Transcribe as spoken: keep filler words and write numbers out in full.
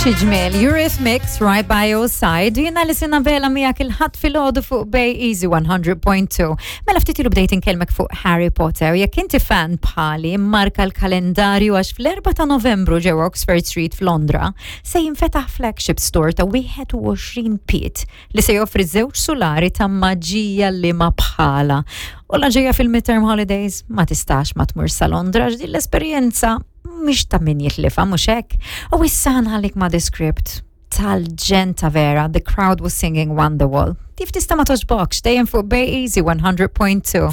Xi ġmiel, Eurythmics right by your side. Jiena li sina vela miegħek il-Ħadd filgħodu fuq Bay Easy one hundred point two. Mela ftit ilu bdejt inkellmek fuq Harry Potter. Jekk inti fan bħali, marka l-kalendarju għax fl-erbgħa ta' Novembru ġewwa Oxford Street f'Londra se jinfetaħ flagship store ta' wieħed u għoxrin pied li se joffri żewġ sulari ta' maġija li ma bħala. U la ġejja fil-midterm holidays ma tistax ma tmur sa Londra għax din l-esperjenza mhix ta' min jitlifa, mhux hekk? U issa nħallik ma' The Script tal-ġenn ta' vera, the crowd was singing Wonderwall. Kif tista' ma togħġbokx, dejjem fuq Bay Easy one hundred point two.